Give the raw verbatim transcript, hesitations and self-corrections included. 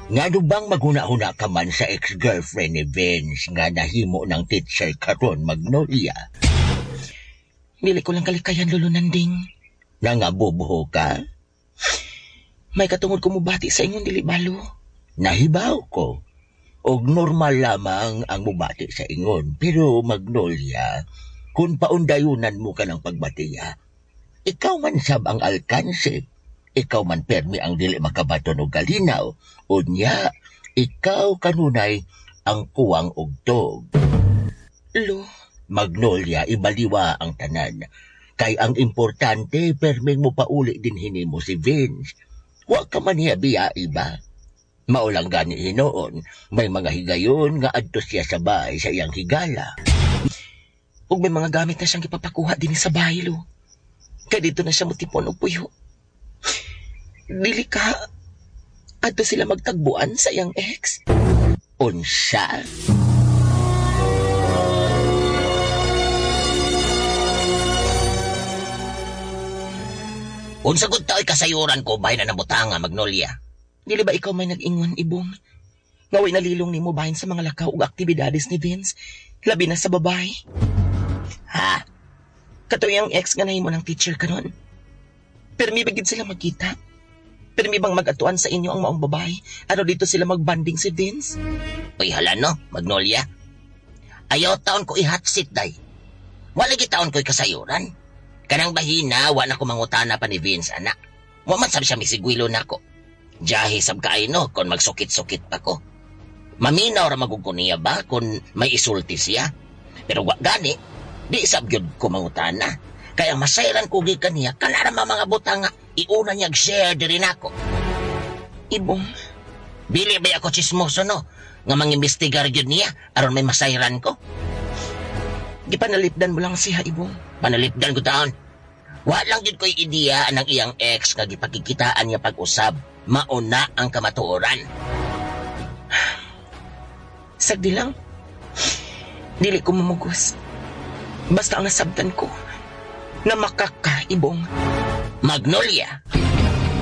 Ngano bang maghuna-huna ka man sa ex-girlfriend ni Vince nga nahimo ng teacher karon, Magnolia? Dili ko lang kalikayan, Lolo Nanding. Nangabubuho ka? May katungod ko mubati sa ingon, dili balo. Nahibaw ko. Og normal lamang ang mubati sa ingon. Pero Magnolia, kung paundayunan mo ka ng pagbatiya, ikaw man sab ang alkanse. Ikaw man permi ang dili makabaton og kalinaw. Unya, ikaw kanunay ang kuwang ugtog. Lo, Magnolia, ibaliwa ang tanan. Kay ang importante, perming mo pauli din hinimo si Vince. Wa ka man niya biya iba. Maulang gani hinoon, may mga higayon nga adto siya sa bahay sa iyang higala. Ug may mga gamit na siyang gipapakuha din sa bahay, Lo. Kay dito na siya mutipon og puyo. Dili ka, adto sila magtagbuan sa iyang ex. Unsa? Unsa gud tao'y kasayuran ko bahin na nabutanga, Magnolia? Dili ba ikaw may nag-ingon, Ibong? Nga way nalilong nimo bahin sa mga lakaw ug aktibidades ni Vince, labi na sa babae. Ha? Katoy ang ex nga nahimo ng teacher karon. Permi ba gid sila magkita? Permi bang mag-atuan sa inyo ang maong babae? Ano dito sila magbanding si Vince? Uy, hala no, Magnolia. Ayaw taon ko i-hot seat, day. Wala gi taon ko'y kasayuran. Kanang bahina, wa na ko mangutana pa ni Vince, anak. Wa man sab siya misigwilo nako. Jahi sab kaay no, kon magsukit-sukit pa ko. Maminaw ra magug ko niya ba kung may isulti siya. Pero wa gani, di sab gyud ko mangutana. Kaya masayran ko gikan niya, kanara mga butang nga iuna niya share diri nako. Ibong, Dili ba ako chismoso no, nga mangimbestigar gyud niya aron may masayran ko. Gipanalipdan mo lang siya, Ibong. Panalipdan ko taon. Wa lang gyud ko'y ideya ang iyang ex nga gipakikitaan niya pag-usab. Mauna ang kamatuoran. Sagdi lang. Dili ko mamugos. Basta ang nasabtan ko, na makaka, Ibong. Magnolia.